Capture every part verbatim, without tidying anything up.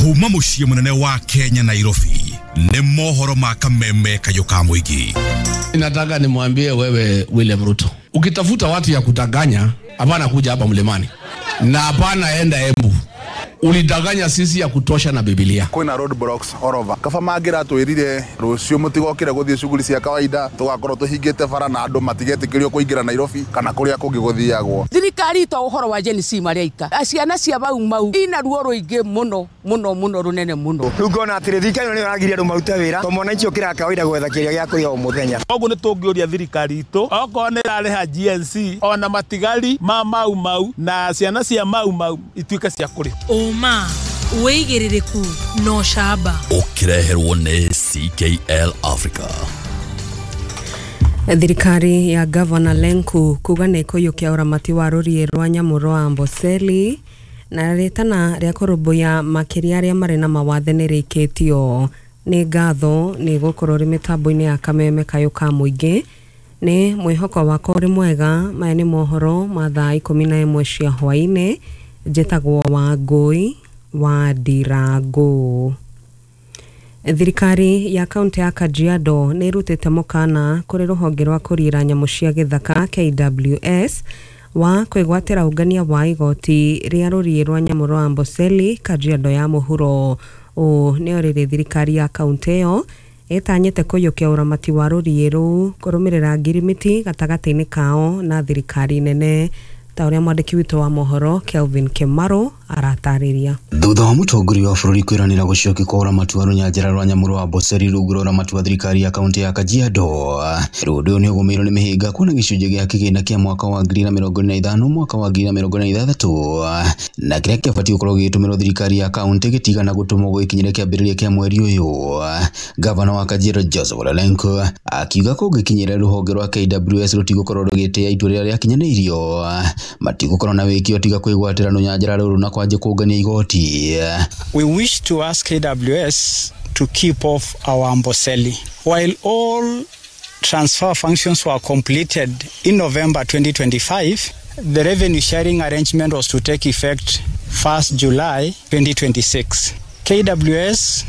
Kuma muciĩ munene wa Kenya Nairobi nĩ mohoro ma kameme kayũ ka mũingĩ. Nataka nimwambie wewe William Ruto, ukitafuta watu ya kutanganya, hapana kuja hapa Mlimani na hapana enda Embu. Ulidanganya sisi ya kutosha na Biblia. Kwina road blocks all over. Kaba mangira twirire rucio mutigokire guthie shughuli cia kawaida tugakorwo tuhingite bara na andu matigetikirio kuingira Nairobi kana kuria kungi guthiagwo. Thirikari to uhoro wa Gen Z maria ika. Ciana cia Mau Mau ina ruo ruingi muno muno muno runene muno. Riu ngona atiri thirikari ni ragiria andu marute wira to mwananchi ukira kawaida gwetha kiria gia kuria o muthenya. Koguo nitungiuria thirikari itu okorwo ni irariha G N C ona matigari ma Mau Mau na ciana cia Mau Mau ituike cia kuri. Oma wĩigĩrĩrĩku no camba ũkĩreherwo nĩ C K L Africa. Thirikari ya Governor Lenku kuga nĩ ĩkũiyũkia ũramati wa rũriĩ rwa nyamũ rwa Amboseli na rĩtana rĩa kũrũmbũiya makĩria arĩa marĩ na mawathe nĩ rĩikĩtio. Nĩ ngatho nĩ gũkorwo rĩ mĩtambo-inĩ ya kameme kayũ ka mũingĩ. Nĩ mwĩhoko wakwa ũrĩ mwega. Maya nĩ mohoro ma thaa ikũmi na ĩmwe cia hwaĩ-inĩ. Njĩtagwo Wangũi wa Ndirango. Thirikari ya kaunti ya Kajiado nĩ ĩrutĩte mũkana kũrĩ rũhonge rwa kũriĩra nyamũ cia gĩthaka K W S wa kwĩgwatĩra ũngania wa igoti rĩa rũriĩ rwa nyamũ rwa Amboseli Kajiado ya mũhuro. Ũũ nĩ rĩrĩ thirikari ya kaunti ĩyo ĩtanyĩte kũiyũkia ũramati wa rũriĩ rũu kũrũmĩrĩra ngirimiti gatagatĩ-inĩ kao na thirikari nene, ta ũrĩa mwandĩki witũ wa mohoro Kelvin Kimaro aratarĩria. Thutha wa mũtongoria wa bũrũri kwĩranĩra gũcokia kwa ũramati wa rũnyanjara rwa nyamũ rwa Amboseli rungu rwa ũramati wa thirikari ya kaunti ya Kajiado, rĩu ũndũ ũyũ nĩ ũgũmĩirwo nĩ mĩhĩnga kuona gĩcunjĩ gĩa kĩgĩna kĩa mwaka wa ngiri na mĩrongo ĩrĩ na ithano mwaka wa ngiri na mĩrongo ĩrĩ na ithathatũ na kĩrĩa kĩabatiĩ gũkorwo gĩgĩtũmĩrwo thirikari ya kaunti gĩtigana gũtũmwo gũgĩkinyĩra kĩambĩrĩria kĩa mweri ũyũ. Gavana wa Kajiado Joseph Ole Lenku akiuga kũngĩkinyĩra rũhonge rwa K W S rũtigũkorwo rũgĩtĩĩa itua rĩrĩa rĩakinyanĩirio, matigũkorwo na wĩki tiga kwĩgwatĩra rũnyanjara rũrũ na kwanjia kũngania igoti. We wish to ask K W S to keep off our Amboseli. While all transfer functions were completed in November twenty twenty-five, the revenue sharing arrangement was to take effect first July twenty twenty-six. K W S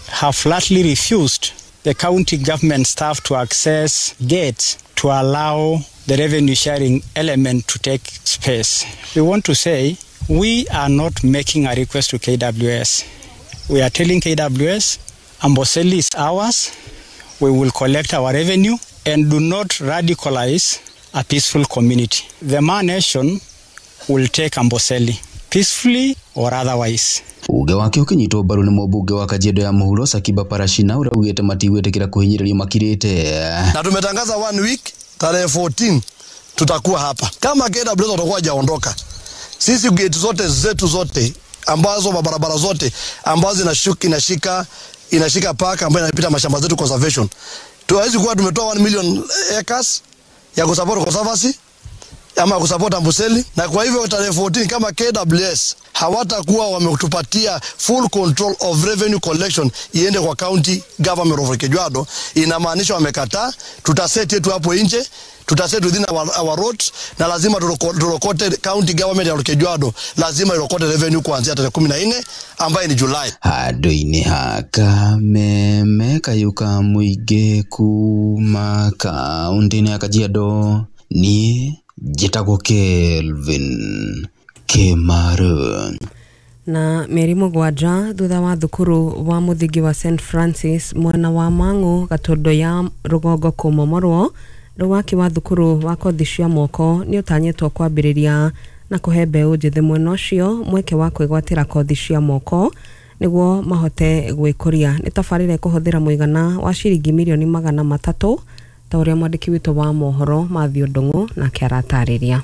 have flatly refused the county government staff to access gates to allow the revenue sharing element to take space. We want to say we are not making a request to K W S. We are telling K W S, Amboseli is ours. We will collect our revenue and do not radicalize a peaceful community. The Ma Nation will take Amboseli peacefully or otherwise. Uge wake ũkĩnyitwo mbaru nĩ mũmbunge wa Kajiado ya mũhuro Sakiba Parashina ũrĩa ugĩte matigwĩtĩkĩra kũhinyĩrĩrio makirĩte. Na tumetangaza one week tarehe fourteen tutakuwa hapa. Kama K W S watakuwa hajaondoka, sisi gate zote zetu zote ambazo barabara zote ambazo inashuka inashika inashika park ambayo inapita mashamba zetu conservation, tuwezi kuwa tumetoa one million acres ya kusupport conservancy ama kusupport Amboseli. Na kwa hivyo tarehe fourteen kama K W S hawatakuwa wametupatia full control of revenue collection iende kwa county government of Kajiado, inamaanisha wamekataa. Tutaset yetu hapo nje, tutaset within our, our roads, na lazima turokote county government ya Kajiado, lazima irokote revenue kuanzia tarehe kumi na nne ambaye ni July. Handũ-inĩ ha kameme kayũ ka mũingĩ kuma kaunti-inĩ ya Kajiado, niĩ njĩtagwo Kelvin Kimaro. Na mĩeri mũgwanja thutha wa thukuru wa mũthingi wa Saint Francis mwena wa Mang'u Gatondo ya rũgongo kũmomorwo, rĩu waki wa thukuru wa kothi cia moko nĩ ũtanyĩtwo kwambĩrĩria na kũhe mbeũ njĩthĩ mwena ũcio mweke wa kwĩgwatĩra kothi cia moko nĩguo mahote gwĩkũria. Nĩ tabarĩra ĩkũhũthĩra mũigana wa ciringi mirioni magana matatũ, ta ũrĩa mwandĩki witũ wa mohoro Mathew Ndung'u nake aratarĩria.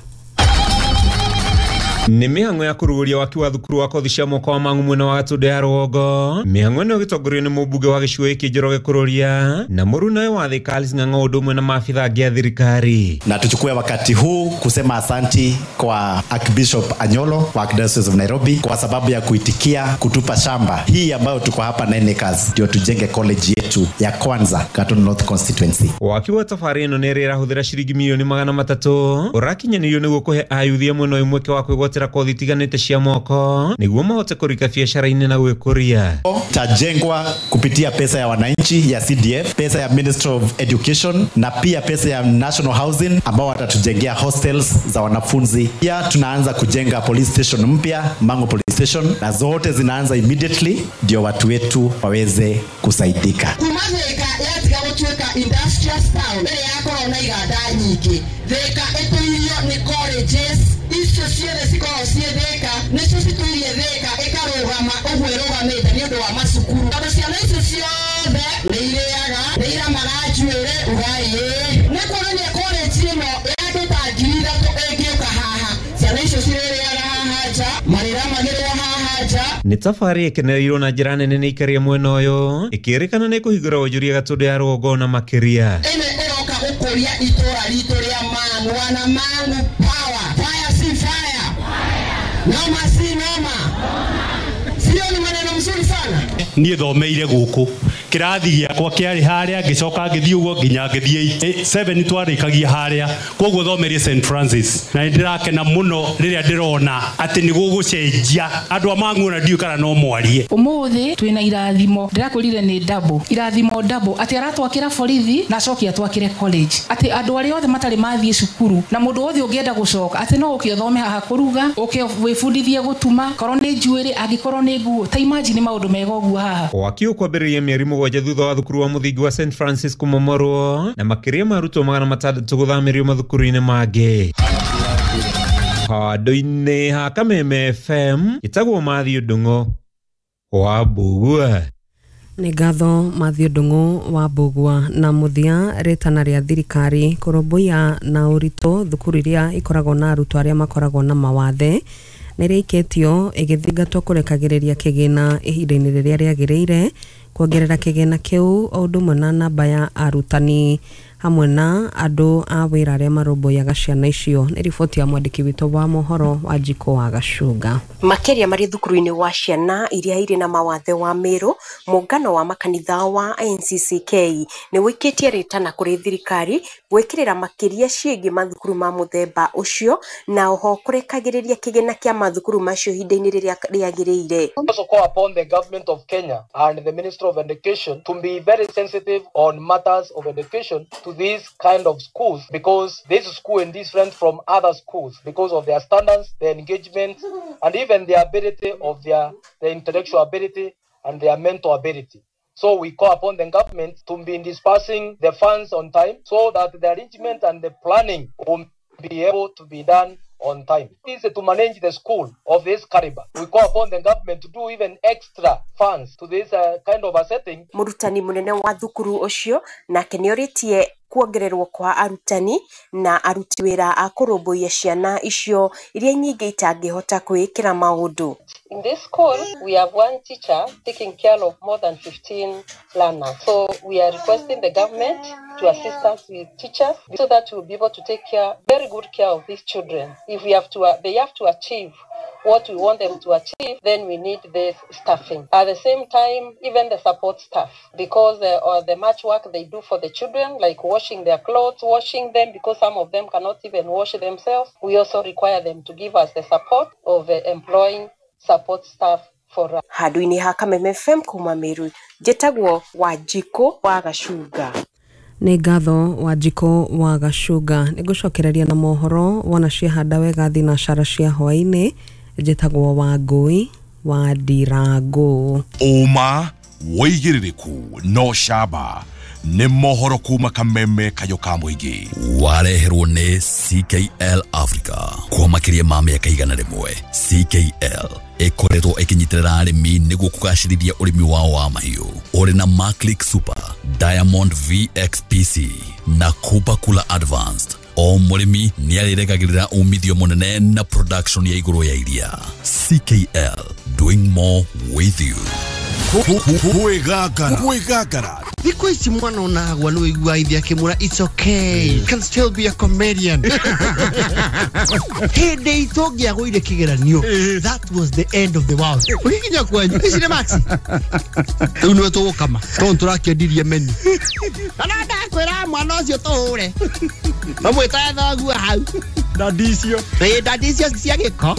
Nĩ mĩhang'o ya kũrugũria waki wa thukuru wa kothi cia moko wa Mang'u mwena wa Gatũndũ ya rũgongo. Mĩhang'o ĩno ĩgĩtongorio nĩ mũmbunge wa gĩcigo gĩkĩ Njoroge Kururia na mũrunawe wa Thika Alice Ng'ang'a ũndũ ũmwe na maabitha angĩ a thirikari. Na tuchukue wakati huu kusema asanti kwa Archbishop Anyolo wa Archdiocese of Nairobi kwa sababu ya kuitikia kutupa shamba hii ambayo tuko hapa nine acres ndio tujenge college yetu ya kwanza Gatundu North Constituency. Waki wa tabarĩ ĩno nĩ ĩrĩa ĩrahũthĩra ciringi mirioni magana matatũ ũrakinyanĩrio nĩguo kũhe ayuthi a mwena ũyũ mweke wa kwĩgwatĩra kwĩgwatĩra kothi itiganĩte cia moko nĩguo mahote kũrika biacara-inĩ na gwĩkũria. Tajengwa kupitia pesa ya wananchi ya C D F, pesa ya Ministry of Education na pia pesa ya National Housing ambao watatujengea hostels za wanafunzi. Pia tunaanza kujenga police station mpya, Mangu Police Station, na zote zinaanza immediately ndio watu wetu waweze kusaidika. Kumazeka yatiga gutwika industrial town ere yakorwo na iganda nyingi. Thika ituirio ni colleges icio ciothe cikoragwo ciĩ Thika, nicio cituirie Thika ikarũgama ũguo ĩrũgamĩte nĩ ũndũ wa macukuru, tondũ ciana icio ciothe nĩ irĩaga, nĩ iramaga njuĩrĩ ugai nĩ kuonania college ĩno ya andũ ta ngiri ithatũ ĩngĩũka haha, ciana icio cirĩrĩaga haha nja, marĩramagĩrwo haha nja. Nĩ tabarĩ ĩkenereirwo na njĩra nene nĩ ikaria mwena ũyũ ĩkĩrĩkana nĩ kũhingũra wonjoria Gatũndũ ya rũgongo na makĩria. Ĩno ĩroka gũkũria itũra ritũ rĩa Mang'u, wana Mang'u power, fire si fire, noma si noma, sio ni maneno mzuri sana. Niĩ thomeire gũkũ kĩrathi gĩakwa kĩarĩ harĩa, ngĩcoka ngĩthiĩ ũguo nginya ngĩthiĩ seven twarĩkagia harĩa, koguo thomeire Saint Francis na nĩndĩrakena mũno rĩrĩa ndĩrona atĩ nĩ gũgũcenjia andũ a Mang'u ona ndiũĩ kana no mwarie. Ũmũthĩ twĩna irathimo, ndĩrakwĩrire nĩ double irathimo double, atĩ aratwakĩra borithi na acoke atwakĩre college, atĩ andũ arĩa othe matarĩ mathiĩ cukuru na mũndũ wothe ũngĩenda gũcoka atĩ no ũke ũthome haha kũruga, ũke wĩbundithie gũtuma, korwo nĩ njuĩrĩ, angĩkorwo nĩ nguo, ta imagine maũndũ mega ũguo haha. Waki ũkwambĩrĩria mĩeri mũgwanja thutha wa thukuru wa mũthingi wa Saint Francis kũmomorwo na makĩria ma arutwo magana matandatũ gũthamĩrio mathukuru-inĩ mangĩ. Handũ-inĩ ha Kameme F M ĩtagwo Matthew Ndung'u wa Mbugua. Nĩ ngatho Matthew Ndung'u wa Mbugua. Na mũthia, rĩtana rĩa thirikari kũrũmbũiya na ũritũ thukuru iria ikoragwo na arutwo arĩa makoragwo na mawathe nĩ rĩikĩtio ĩgĩthingatwo kũrekagĩrĩria kĩgĩna ihinda-inĩ rĩrĩa rĩagĩrĩire, kuongerera kĩgĩna kĩu o ũndũ ũmwe na namba ya arutani hamwe na andũ a wĩra arĩa marũmbũyaga ciana icio. Nĩ riboti ya mwandĩki witũ wa mohoro wa Njiko wa Gacunga. Makĩria marĩ thukuru-inĩ wa ciana iria irĩ na mawathe wa Meru, mũngano wa makanitha wa N C C K nĩ wĩkĩtie rĩtana kũrĩ thirikari gwĩkĩrĩra makĩria ciĩgiĩ mathukuru ma mũthemba ũcio na oho kũrekagĩrĩria kĩgĩna kĩa mathukuru macio ihinda-inĩ rĩrĩa rĩagĩrĩire. Also call upon the government of Kenya and the Ministry of Education to be very sensitive on matters of education to these kind of schools, because this school is different from other schools because of their standards, their engagement, and even the ability of their, their intellectual ability and their mental ability. So we call upon the government to be dispersing the funds on time so that the arrangement and the planning will be able to be done on time. It is to manage the school of this caliber. We call upon the government to do even extra funds to this uh, kind of a setting. Mũrutani mũnene wa thukuru ũcio nake nĩorĩtie kuongererwo kwa arutani na aruti wĩra a kũrũmbũiya ciana icio iria nyingĩ itangĩhota kwĩĩkĩra maũndũ. In this school, we have one teacher taking care of more than fifteen learners. So we are requesting the government to assist us with teachers so that we'll be able to take care, very good care of these children. If we have to, uh, they have to achieve what we want them to achieve, then we need this staffing. At the same time, even the support staff, because uh, or the much work they do for the children, like washing their clothes, washing them, because some of them cannot even wash themselves. We also require them to give us the support of uh, employing support staff for us. Handũ-inĩ ha Kameme F M kuma Meru, njĩtagwo Wanjikũ wa Gacunga. Nĩ ngatho Wanjikũ wa Gacunga. Nĩ ngũcokereria na mohoro wona ciahanda wega thinacara cia hwaĩ-inĩ. Njĩtagwo Wangũi wa Ndirango. Ũma wĩigĩrĩrĩku no camba nĩ mohoro kuma Kameme kayũ ka mũingĩ. Wareherwo nĩ C K L Africa kwa makĩria ma mĩaka igana rĩmwe. C K L ĩkoretwo ĩkĩnyitĩrĩra arĩmi nĩguo kũgacĩrithia ũrĩmi wao wa mahiũ. Ũrĩ na Maclick Super, Diamond V X P C na Cooper Cooler Advanced. O mũrĩmi nĩarĩrekagĩrĩra umithio mũnene na production ya igũrũ ya iria. C K L, doing more with you. Kwĩgangara kwĩgangara thikũ ici mwana onagwa nĩ wĩiguaga ithe akĩmwĩra it's okay, you can still be a comedian. Hĩndĩ itũ ũngĩagũire kĩgeranio, that was the end of the world. Ũgĩkinya kwanyu ici nĩ maxi rĩu nĩwe tũgũkama tondũ tũrakĩendirie menu na ndakwĩra mwana ũcio tũhũre mamwĩtae thoguo hau. Ndandi icio. Ĩ ndandi icio cia gĩko.